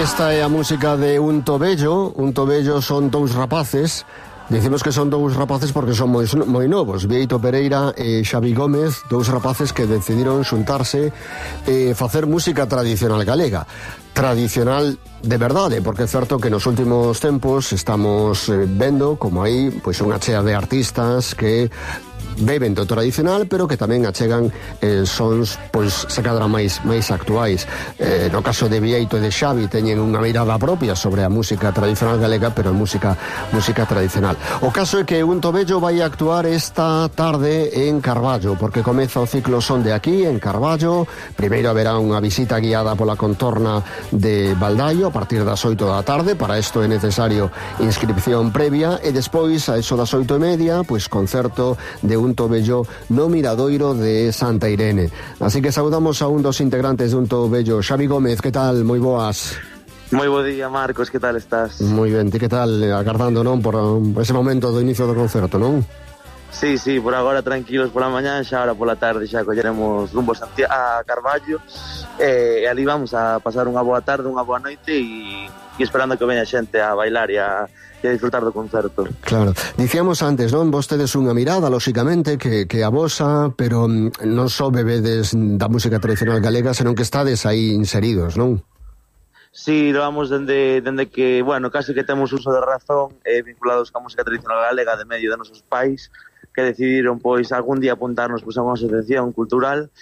Esta é a música de Un Tobello. Un Tobello son dous rapaces. Dicimos que son dous rapaces porque son moi novos. Bieito Pereira e Xavi Gómez, dous rapaces que decidiron xuntarse e facer música tradicional galega. Tradicional de verdade, porque é certo que nos últimos tempos estamos vendo como aí pois unha chea de artistas que beben do tradicional, pero que tamén achegan sons, pois, se cadra máis actuais. No caso de Bieito e de Xavi teñen unha mirada propia sobre a música tradicional galega, pero música tradicional. O caso é que Un Tobello vai actuar esta tarde en Carballo, porque comeza o ciclo Son de Aquí, en Carballo. Primeiro haberá unha visita guiada pola contorna de Baldaio a partir das 8 da tarde. Para isto é necesario inscripción previa, e despois, a eso das 8:30, pois concerto de Un Tobello no Miradoiro de Santa Irene. Así que saudamos a un dos integrantes de Un Tobello. Xavi Gómez, que tal? Moi boas. Moi bo día, Marcos, que tal estás? Moi ben, ti que tal? Agardando, non, por ese momento do inicio do concerto, non? Sí, por agora tranquilos pola mañá, xa ahora pola tarde xa colleremos rumbo a Carballo, e ali vamos a pasar unha boa tarde, unha boa noite e esperando que veña xente a bailar e a disfrutar do concerto. Claro, dicíamos antes, non? Vos tedes unha mirada, lóxicamente, que a vosa, pero non só bebedes da música tradicional galega, senón que estades aí inseridos, non? Sí, vamos dende que, bueno, casi que temos uso de razón, vinculados ca música tradicional galega de medio de nosos pais, que decidiron, pois, algún día apuntarnos pois, a unha asociación cultural,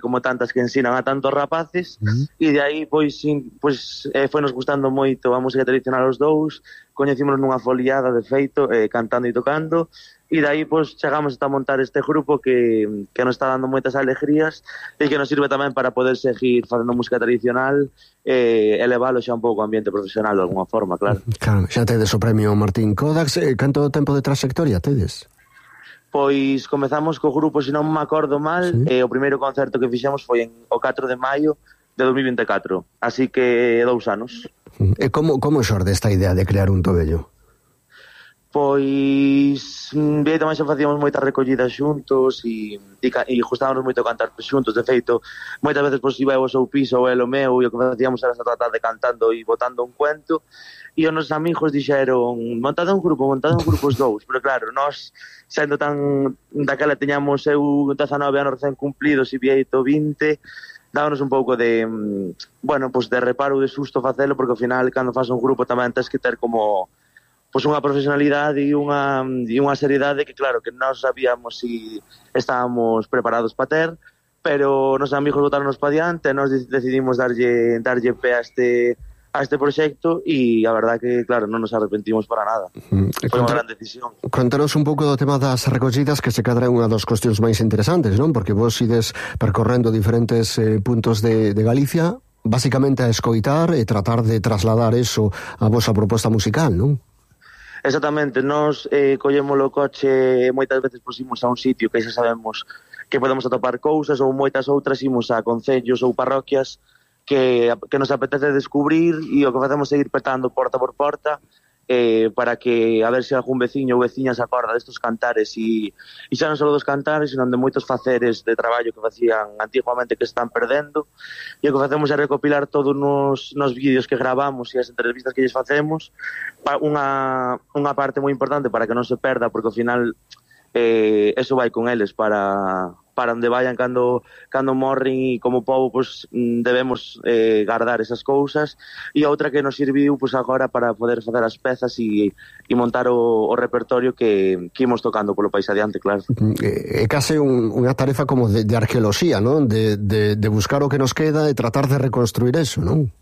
como tantas que ensinan a tantos rapaces, e de aí, pois foi nos gustando moito a música tradicional aos dous, coñecímonos nunha foliada, de feito, cantando e tocando, e de aí, pois, chegamos a montar este grupo que nos está dando moitas alegrías e que nos sirve tamén para poder seguir facendo música tradicional e elevalo xa un pouco ao ambiente profesional de alguna forma, claro. Claro, xa tedes o premio Martín Kodax. Canto tempo de trayectoria tedes? Pois comezamos co grupo, se non me acordo mal, sí. O primeiro concerto que fixemos foi o 4 de maio de 2024, así que 2 anos. E como xorde esta idea de crear Un Tobello? Pois tamén xa facíamos moitas recollidas xuntos e gustábamos moito cantar xuntos. De feito, moitas veces pois iba ao seu piso ou el o meu, e o que facíamos era esta tarde cantando e botando un cuento, e os nosos amigos dixeron montade un grupo os dous, pero claro, nós sendo tan daquela teñamos eu 19 anos recén cumplidos e Bieito 20, dábanos un pouco de pois de reparo, de susto facelo, porque ao final cando faz un grupo tamén tens que ter como pois unha profesionalidade e unha seriedade que claro, que nós sabíamos si estábamos preparados para ter, pero nos amigos botaronos para diante, nós decidimos darlle pé a este proxecto e a verdad que, claro, non nos arrepentimos para nada. Foi unha gran decisión. Contanos un pouco do tema das recollidas, que se cadra unha das cuestións máis interesantes, non? Porque vos ides percorrendo diferentes puntos de Galicia, basicamente a escoitar e tratar de trasladar eso a vosa proposta musical, non? Exactamente, nós collemos o coche e moitas veces imos a un sitio que xa sabemos que podemos atopar cousas, ou moitas outras imos a concellos ou parroquias que nos apetece descubrir, e o que facemos é ir petando porta por porta para que a ver se algún veciño ou veciña se acorda destos cantares e xa non só dos cantares, senón de moitos faceres de traballo que facían antiguamente que están perdendo, e o que facemos é recopilar todos nos vídeos que gravamos e as entrevistas que lles facemos, unha parte moi importante para que non se perda, porque ao final eso vai con eles para onde vayan cando morren, e como povo pues, debemos guardar esas cousas, e outra que nos serviu pues, agora para poder facer as pezas e montar o repertorio que imos tocando polo país adiante, claro. É case unha tarefa como de arqueoloxía, non? De buscar o que nos queda e tratar de reconstruir eso, non?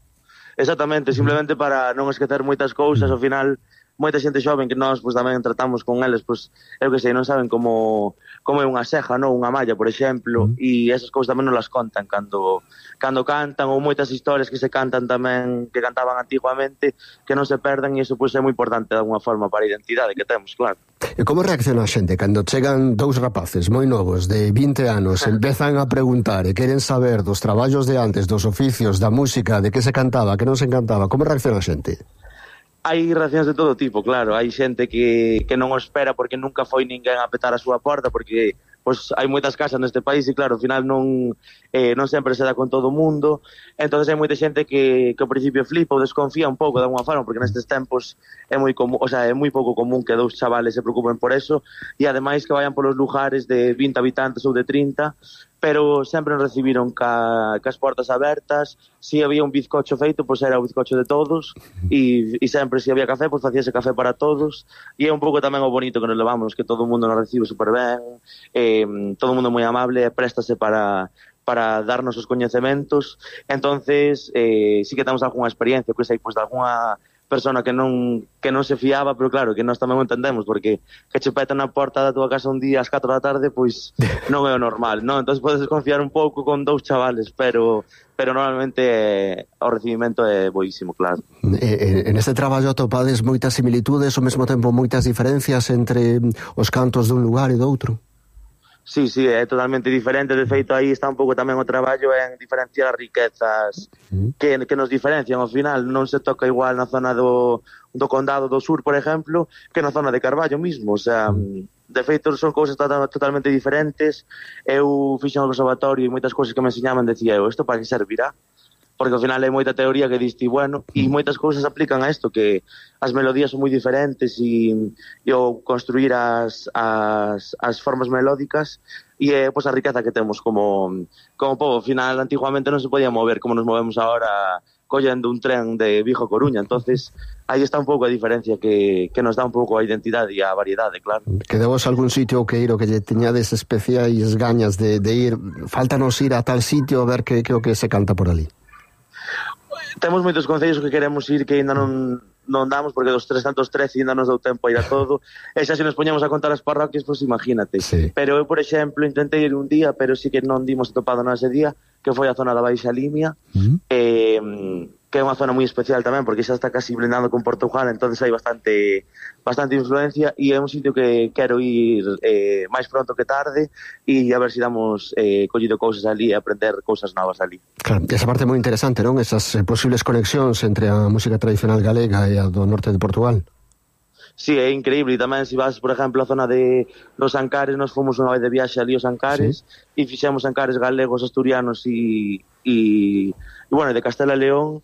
Exactamente, simplemente para non esquecer moitas cousas. Ao final moita xente xoven que nós pues, tamén tratamos con eles, pues, eu que sei, non saben como é unha seja, non? Unha malla, por exemplo, e esas cousas tamén non las contan cando cantan, ou moitas historias que se cantan tamén, que cantaban antiguamente, que non se perdan, e iso pues, é moi importante de alguna forma para a identidade que temos, claro. E como reacciona a xente cando chegan dous rapaces moi novos de 20 anos, empezan a preguntar e queren saber dos traballos de antes, dos oficios, da música, de que se cantaba, que non se cantaba? Como reacciona a xente? Hai reaccións de todo tipo, claro. Hai xente que non o espera porque nunca foi ninguén a petar a súa porta, porque pois hai moitas casas neste país e claro, ao final non sempre se dá con todo o mundo, entonces hai moita xente que ao principio flipa ou desconfía un pouco de alguma forma, porque nestes tempos é moi común, o sea, é moi pouco común que dous chavales se preocupen por eso e ademais que vayan polos lugares de 20 habitantes ou de 30, pero sempre nos recibiron cas portas abertas. Si había un bizcocho feito, pois era o bizcocho de todos, e sempre se había café, pois facíase café para todos, e é un pouco tamén o bonito que nos levamos, que todo o mundo nos recibe super ben, todo o mundo moi amable, préstase para darnos os coñecementos. Entonces sí que temos algunha experiencia, pois hai pois de algunha persona que non se fiaba, pero claro, que nós tamén o entendemos, porque que che peta na porta da tua casa un día ás 4 da tarde, pois non é o normal, non? Entón podes desconfiar un pouco con dous chavales, pero normalmente o recibimento é boísimo, claro. En este traballo atopades moitas similitudes, ao mesmo tempo moitas diferencias entre os cantos dun lugar e doutro? Sí, é totalmente diferente. De feito, aí está un pouco tamén o traballo en diferenciar as riquezas que nos diferencian. Ao final non se toca igual na zona do Condado do Sur, por exemplo, que na zona de Carballo mismo. O sea, de feito son cousas totalmente diferentes. Eu fixen o conservatorio e moitas cousas que me enseñaban decía eu, isto para que servirá? Porque ao final hai moita teoría que diste, bueno, e moitas cousas aplican a isto, que as melodías son moi diferentes e o construir as formas melódicas e pois a riqueza que temos como povo. Ao final, antiguamente non se podía mover como nos movemos ahora collendo un tren de Vigo a Coruña, entonces aí está un pouco a diferencia que nos dá un pouco a identidade e a variedade, claro. Quedamos algún sitio que ir o que lle teñades especiais gañas de ir, faltanos ir a tal sitio a ver que o que se canta por ali? Temos moitos concellos que queremos ir que ainda non damos, porque dos 313 ainda nos dou tempo a ir a todo, e xa se nos poñamos a contar as parroquias, pois imagínate. Sí. Pero eu, por exemplo, intentei ir un día, pero sí que non dimos atopado nese día, que foi a zona da Baixa Limia, que é unha zona moi especial tamén, porque xa está casi blindando con Portugal, entonces hai bastante influencia, e é un sitio que quero ir máis pronto que tarde, e a ver se damos collido cousas ali e aprender cousas novas ali. Claro, esa parte moi interesante, non? Esas posibles conexións entre a música tradicional galega e a do norte de Portugal. Sí, é increíble, e tamén se vas, por exemplo, a zona de los Ancares, nos fomos unha vez de viaxe ali aos Ancares, e fixemos Ancares galegos, asturianos e bueno, de Castela e León,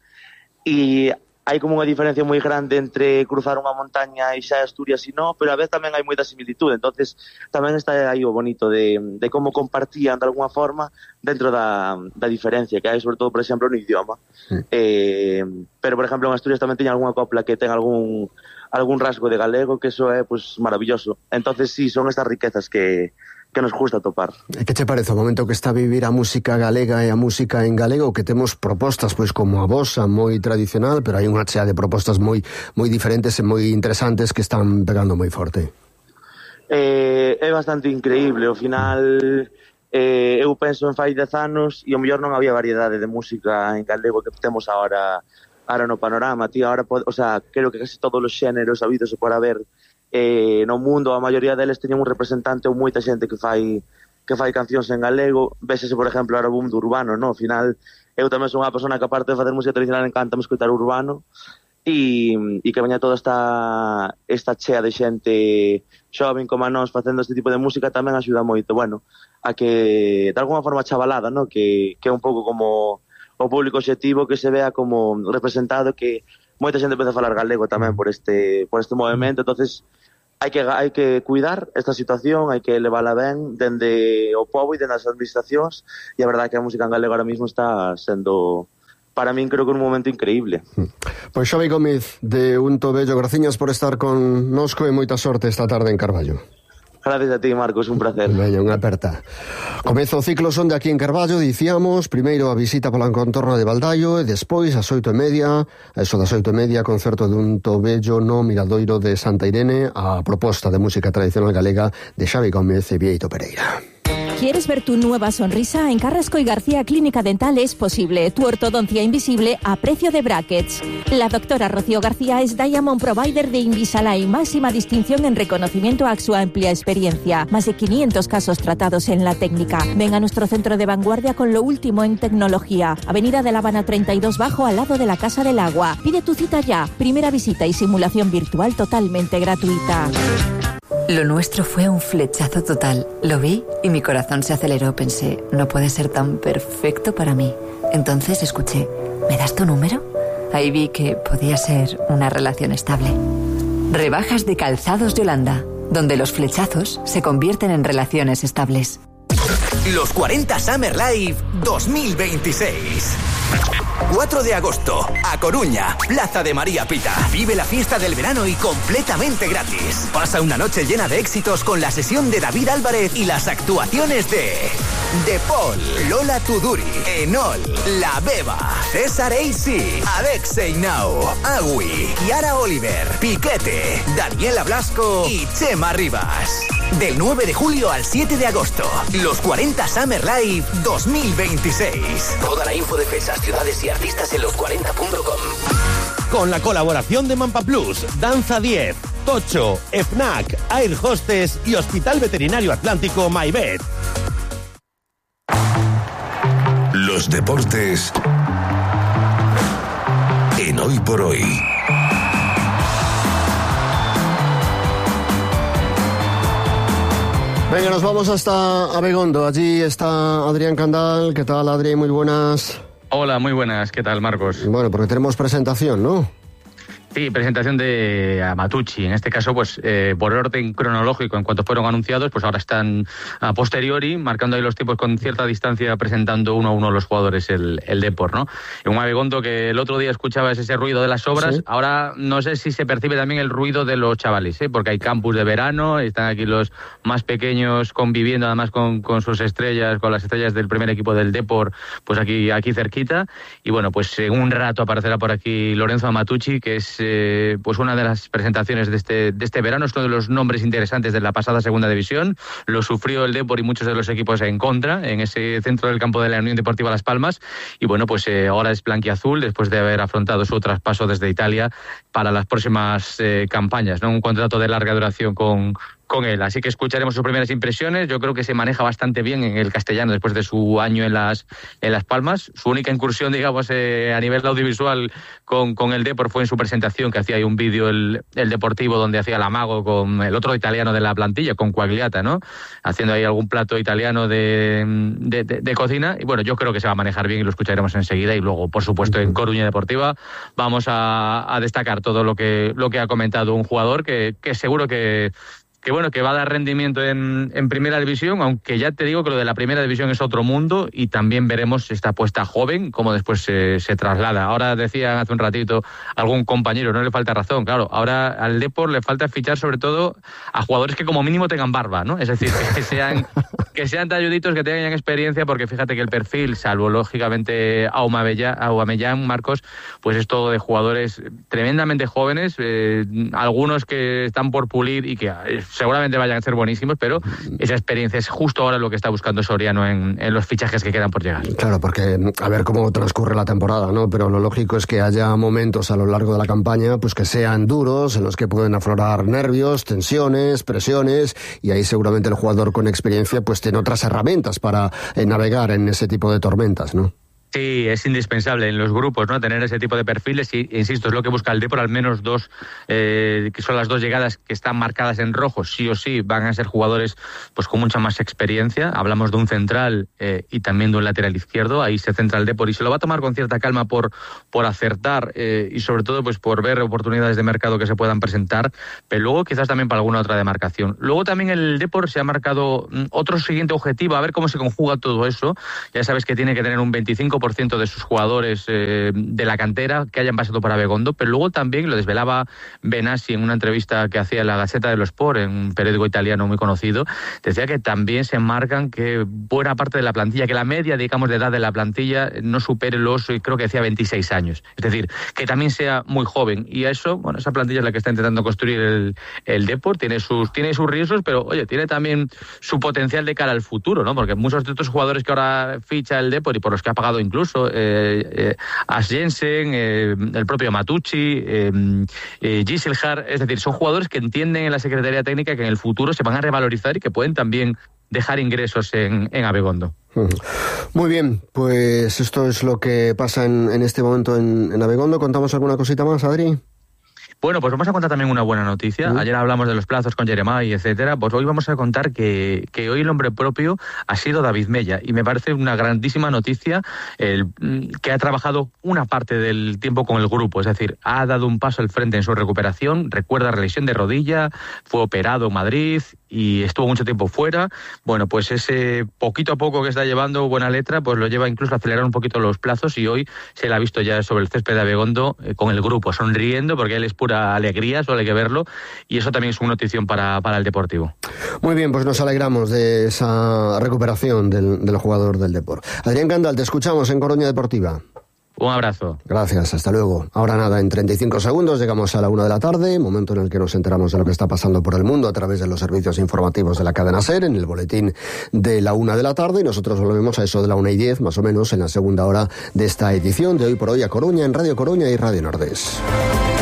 e hai como unha diferencia moi grande entre cruzar unha montaña e xa Asturias e non, pero a vez tamén hai moita similitud, entonces tamén está aí o bonito de como compartían de alguna forma dentro da diferencia que hai, sobre todo, por exemplo, no idioma. Pero, por exemplo, en Asturias tamén teña algunha copla que ten algún rasgo de galego, que eso é pues maravilloso. Entonces sí, son estas riquezas que nos gusta topar. Que te parece o momento que está a vivir a música galega e a música en galego, que temos propostas pois como a vosa moi tradicional, pero hai unha chea de propostas moi diferentes e moi interesantes que están pegando moi forte? É bastante increíble. Ao final eu penso en fai 10 anos e ao mellor non había variedade de música en galego que temos ahora no panorama, tío. Ahora, o sea, creo que casi todos os xéneros habidos por haber no mundo, a maioría deles teñen un representante ou moita xente que fai cancións en galego. Vésese, por exemplo, ahora o boom do urbano, no? Ao final, eu tamén son unha persona que, aparte de facer música tradicional, encanta-me escoitar urbano, e que veña toda esta chea de xente xoven como a nós facendo este tipo de música tamén axuda moito, bueno, a que, de alguna forma chavalada, no? Que é un pouco como o público obxectivo, que se vea como representado, que moita xente empeza a falar galego tamén por este movimento. Entonces hai que cuidar esta situación, hai que levala ben dende o povo e dende as administracións, e a verdade é que a música en galego ahora mismo está sendo, para min, creo que un momento increíble. Pois Xavi Gómez de Unto Bello, graciñas por estar con nosco e moita sorte esta tarde en Carballo. Gracias a ti, Marcos, un placer. Veña, unha aperta. Comeza o ciclo son de aquí en Carballo, dicíamos, primeiro a visita pola contorna de Baldaio e despois ás 8:30, a eso das 8:30, concerto de Unto Bello no Miradoiro de Santa Irene, a proposta de música tradicional galega de Xavi Gómez e Bieito Pereira. ¿Quieres ver tu nueva sonrisa? En Carrasco y García Clínica Dental es posible. Tu ortodoncia invisible a precio de brackets. La doctora Rocío García es Diamond Provider de Invisalign, máxima distinción en reconocimiento a su amplia experiencia. Más de 500 casos tratados en la técnica. Ven a nuestro centro de vanguardia con lo último en tecnología. Avenida de La Habana 32 Bajo, al lado de la Casa del Agua. Pide tu cita ya. Primera visita y simulación virtual totalmente gratuita. Lo nuestro fue un flechazo total. Lo vi y mi corazón se aceleró. Pensé, no puede ser tan perfecto para mí. Entonces escuché, ¿me das tu número? Ahí vi que podía ser una relación estable. Rebajas de Calzados Yolanda, donde los flechazos se convierten en relaciones estables. Los 40 Summer Live 2026. 4 de agosto, A Coruña, Plaza de María Pita. Vive la fiesta del verano y completamente gratis. Pasa una noche llena de éxitos con la sesión de David Álvarez y las actuaciones de Paul, Lola Tuduri, Enol, La Beba, César AC, Alexei Nau, Agui, Yara Oliver, Piquete, Daniela Blasco y Chema Rivas. Del 9 de julio al 7 de agosto, los 40 Summer Live 2026. Toda la info de fechas, ciudades y artistas en los40.com. Con la colaboración de Mampa Plus, Danza 10, Tocho, FNAC, Air Hostess y Hospital Veterinario Atlántico MyVet. Los deportes en Hoy por Hoy. Venga, nos vamos hasta Abegondo. Allí está Adrián Candal. ¿Qué tal, Adri? Muy buenas. Hola, muy buenas. ¿Qué tal, Marcos? Bueno, porque tenemos presentación, ¿no? Sí, presentación de Amatucci. En este caso, pues por orden cronológico, en cuanto fueron anunciados, pues ahora están a posteriori, marcando ahí los tiempos con cierta distancia, presentando uno a uno los jugadores el Depor, ¿no? En un Abegondo que el otro día escuchabas ese ruido de las obras, sí. Ahora no sé si se percibe también el ruido de los chavales, porque hay campus de verano, están aquí los más pequeños conviviendo además con sus estrellas, con las estrellas del primer equipo del Depor, pues aquí cerquita. Y bueno, pues en un rato aparecerá por aquí Lorenzo Amatucci, que es pues una de las presentaciones de este verano. Es uno de los nombres interesantes de la pasada segunda división. Lo sufrió el Depor y muchos de los equipos en contra en ese centro del campo de la Unión Deportiva Las Palmas. Y bueno, pues ahora es blanquiazul después de haber afrontado su traspaso desde Italia para las próximas campañas, ¿no? Un contrato de larga duración con él, así que escucharemos sus primeras impresiones. Yo creo que se maneja bastante bien en el castellano después de su año en Las Palmas. Su única incursión, digamos, a nivel audiovisual con el Depor fue en su presentación, que hacía ahí un vídeo el Deportivo donde hacía el amago con el otro italiano de la plantilla, con Quagliata, ¿no? Haciendo ahí algún plato italiano de cocina. Y bueno, yo creo que se va a manejar bien y lo escucharemos enseguida. Y luego, por supuesto, en Coruña Deportiva vamos a destacar todo lo que ha comentado un jugador que seguro que va a dar rendimiento en primera división, aunque ya te digo que lo de la primera división es otro mundo y también veremos esta apuesta joven, cómo después se traslada. Ahora decía hace un ratito algún compañero, no le falta razón, claro, ahora al Depor le falta fichar sobre todo a jugadores que como mínimo tengan barba, ¿no? Es decir, que sean talluditos, que tengan experiencia, porque fíjate que el perfil, salvo lógicamente Aubameyang, Marcos, pues es todo de jugadores tremendamente jóvenes, algunos que están por pulir y que seguramente vayan a ser buenísimos, pero esa experiencia es justo ahora lo que está buscando Soriano en los fichajes que quedan por llegar. Claro, porque a ver cómo transcurre la temporada, ¿no? Pero lo lógico es que haya momentos a lo largo de la campaña pues que sean duros, en los que pueden aflorar nervios, tensiones, presiones, y ahí seguramente el jugador con experiencia pues tiene otras herramientas para navegar en ese tipo de tormentas, ¿no? Sí, es indispensable en los grupos, ¿no? Tener ese tipo de perfiles y, insisto, es lo que busca el Depor, al menos dos, que son las dos llegadas que están marcadas en rojo, sí o sí, van a ser jugadores pues con mucha más experiencia. Hablamos de un central y también de un lateral izquierdo, ahí se centra el Depor y se lo va a tomar con cierta calma por acertar y sobre todo pues por ver oportunidades de mercado que se puedan presentar, pero luego quizás también para alguna otra demarcación. Luego también el Depor se ha marcado otro siguiente objetivo, a ver cómo se conjuga todo eso. Ya sabes que tiene que tener un 25% de sus jugadores de la cantera que hayan pasado por Abegondo, pero luego también lo desvelaba Benassi en una entrevista que hacía en la Gazzetta dello Sport, en un periódico italiano muy conocido. Decía que también se marcan que buena parte de la plantilla, que la media, digamos, de edad de la plantilla no supere los, creo que decía 26 años. Es decir, que también sea muy joven. Y a eso, bueno, esa plantilla es la que está intentando construir el Depor. Tiene sus riesgos, pero oye, tiene también su potencial de cara al futuro, ¿no? Porque muchos de estos jugadores que ahora ficha el Depor y por los que ha pagado incluso As Jensen, el propio Matucci, Giselhard, es decir, son jugadores que entienden en la Secretaría Técnica que en el futuro se van a revalorizar y que pueden también dejar ingresos en Abegondo. Muy bien, pues esto es lo que pasa en este momento en Abegondo. ¿Contamos alguna cosita más, Adri? Bueno, pues vamos a contar también una buena noticia. Ayer hablamos de los plazos con Jeremai, etcétera. Pues hoy vamos a contar que hoy el hombre propio ha sido David Mella, y me parece una grandísima noticia que ha trabajado una parte del tiempo con el grupo, es decir, ha dado un paso al frente en su recuperación. Recuerda la lesión de rodilla, fue operado en Madrid y estuvo mucho tiempo fuera. Bueno, pues ese poquito a poco que está llevando buena letra, pues lo lleva incluso a acelerar un poquito los plazos, y hoy se le ha visto ya sobre el césped de Abegondo con el grupo, sonriendo, porque él es pura alegría, solo hay que verlo, y eso también es una notición para el Deportivo. Muy bien, pues nos alegramos de esa recuperación del jugador del Depor. Adrián Candal, te escuchamos en Coruña Deportiva. Un abrazo. Gracias, hasta luego. Ahora nada, en 35 segundos llegamos a la 1 de la tarde, momento en el que nos enteramos de lo que está pasando por el mundo a través de los servicios informativos de la cadena SER, en el boletín de la 1 de la tarde, y nosotros volvemos a eso de la 1:10, más o menos, en la segunda hora de esta edición de Hoy por Hoy a Coruña, en Radio Coruña y Radio Nordés.